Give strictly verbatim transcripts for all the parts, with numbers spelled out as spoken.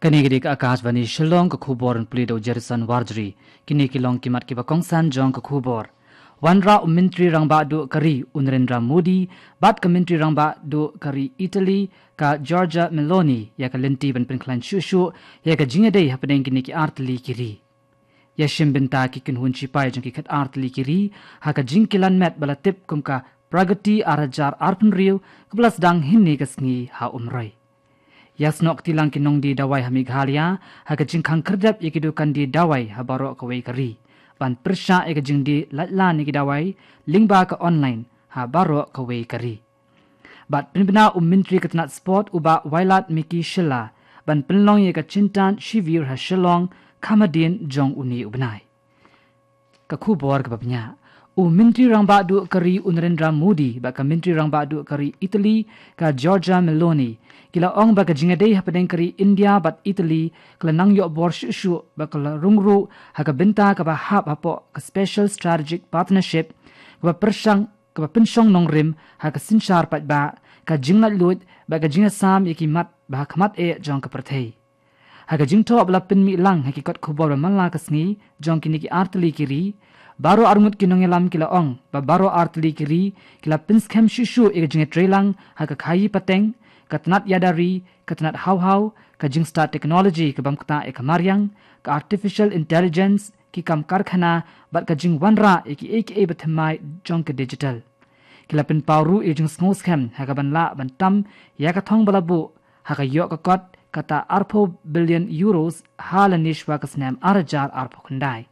Kane ka dei ka Akashvani Shillong, ka khubor ban pule da u Jerison Warjri. Kine ki long ki mat kiba kongsan jong ka khubor. Wanrah u Myntri Rangbah Duh ka ri u Narendra Modi bad ka Myntri Rangbah Duh ka ri Italy ka Giorgia Meloni ïa ka lynti ban pynkhlaiñ shuh shuh ïa ka jingïadei hapdeng kine ki artylli ki ri. Ïa shim bynta ki kynhun shipai jong ki khat artylli ki ri ha ka jingkilan met ba la tip kum ka Pragati ar hajar arphew hynriew kaba la sdang hynne ka sngi ha Umroi. Ïa snoh kti lang ki nongdie dawai ha Meghalaya ha ka jingkhang khyrdep ïa ki dukan die dawai ha baroh kawei ka ri ban pyrshah ïa ka jingdie lait lan ïa ki dawai lyngba ka online ha baroh kawei ka ri. Bad pynbna u Myntri ka tnat sport u Bah Wailadmiki Shylla ban pynlong ïa ka Chintan Shivir ha Shillong kham hadien jong une u bnai. Ka khubor kaba bniah. U Myntri Rangbah Duh ka ri u Narendra Modi bad ka Myntri Rangbah Duh ka ri Italy ka Giorgia Meloni ki la ong ba ka jingïadei hapdeng ka ri India bad Italy ka la nang ïoh bor shuh shuh bad ka la rung ruh ha ka bynta kaba hap hapoh ka Special Strategic Partnership kaba pyrshang kaba pynshong nongrim ha ka synshar paidbah, ka jinglaitluid bad ka jingïasam ïa ki mat ba ha khmat eh jong ka pyrthei. Ha ka jingthoh ba la pynmih lang ha ki kot khubor ba man la ka sngi jong kine ki artylli ki ri, baroh arngut ki nongïalam ki la ong ba baroh artylli ki ri ki la pynskhem shuh shuh ïa ka jingïatreilang ha ka khaïi pateng, ka tnat ïada ri, ka tnat haw haw, ka jingstad technology ka bam ktah ïa ka mariang, ka artificial intelligence, ki kam karkhana bad ka jingwanrah ïa kiei kiei ba thymmai jong ka digital. Ki la pynpaw ruh ïa ka jingsngewskhem ha ka ban lah ban tam ïa ka thong ba la buh ha ka ïoh ka kot kata arphew billion euros ha lane shwa ka snem ar hajar arphew khyndai.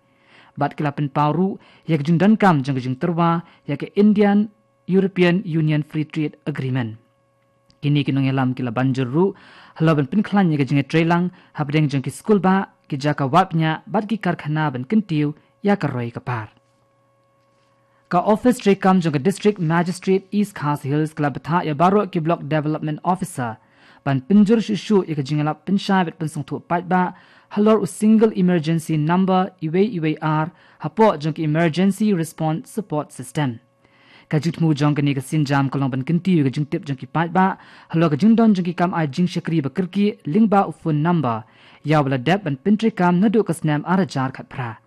Bad ki la pynpaw ruh ïa ka jingdonkam jong ka jingtyrwa ïa ka Indian European Union Free Trade Agreement. Kine ki nongïalam ki la ban jur ruh halor ban pynkhlaiñ ïa ka jingïatreilang hapdeng jong ki skulbah, ki jaka wad bniah bad ki karkhana ban kyntiew ïa ka roi ka par. Ka ophis treikam jong ka District Magistrate East Khasi Hills ka la bthah ïa baroh ki Block Development Officer ban pynjur shuh shuh ïa ka jingïalap pynshai bad pynsngewthuh paidbah halor u Single Emergency Number uwei uwei ar hapoh jong ka Emergency Response Support System. Ka jingthmu jong kane ka sienjam ka long ban kyntiew ïa ka jingtip jong ki paidbah halor ka jingdon jong ki kam ai jingshakri ba kyrkieh lyngba u phone number ïa uba la dep ban pyntreikam naduh ka snem ar hajar khatphra.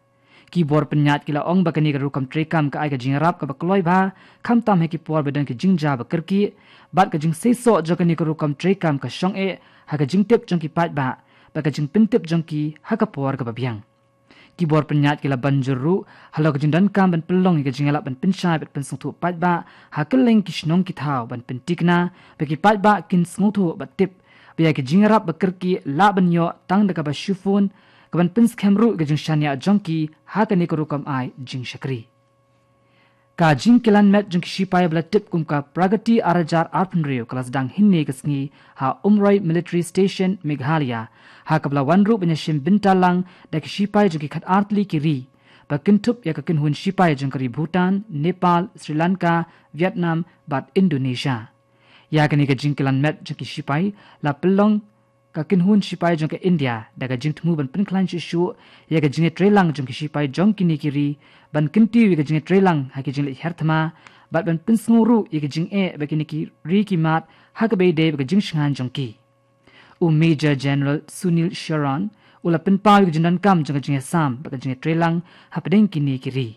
Ki bor pynïaid ki la ong ba kane ka rukom treikam ka ai ka jingïarap kaba kloi bha, khamtam ha ki por ba don ki jingjia ba kyrkieh, bad ka jingseisoh jong kane ka rukom treikam ka shong eh ha ka jingtip jong ki paidbah bad ka jingpyntip jong ki ha ka por kaba biang. Ki bor pynïaid ki la ban jur ruh halor ka jingdonkam ban pynlong ïa ka jingïalap ban pynshai bad pynsngewthuh paidbah ha kylleng ki shnong ki thaw ban pyntikna ba ki paidbah kin sngewthuh bad tip ba ïa ka jingïarap ba kyrkieh lah ban ïoh tang da kaba shu phone, ka ban pynskhem ruh ïa ka jingshaniah jong ki ha kane ka rukom ai jingshakri. Ka jingkilan met jong ki shipai ba la tip kum ka Pragati ar hajar arphew hynriew ka la sdang hynne ka sngi ha Umroi Military Station, Meghalaya, ha kaba la wan ruh ban ïashim bynta lang da ki shipai jong ki khat artylli ki ri ba kynthup ïa ka kynhun shipai jong ka ri Bhutan, Nepal, Sri Lanka, Vietnam bad Indonesia. Ïa kane ka jingkilan met jong ki shipai la pynlong ka kynhun shipai jong ka India da ka jingthmu ban pynkhlaiñ shuh shuh ïa ka jingïatreilang jong ki shipai jong kine ki ri, ban kyntiew ïa ka jingïatreilang ha ki jingleit her thma bad ban pynsngew ruh ïa ka jingeh ba kine ki ri ki mad ha kaba ïadei bad ka jingshngaiñ jong ki. U Major General Sunil Sharan u la pynpaw ïa ka jingdonkam jong ka jingïasam bad ka jingïatreilang hapdeng kine ki ri.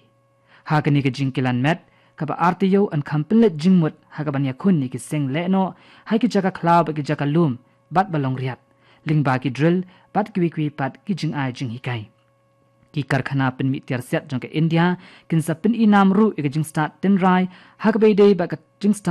Ha kane ka jingkilan met kaba ar taïew yn kham pynleit jingmut ha kaban ïakhun ïa ki seng lehnoh ha ki jaka khlaw bad ki jaka lum bad ba long riat, lyngba ki drill bad kiwei kiwei pat ki jingai jinghikai. Ki karkhana pynmih tiar siat jong ka India kin sa pyni nam ruh ïa ka jingstad tynrai ha kaba ïadei bad ka jingstad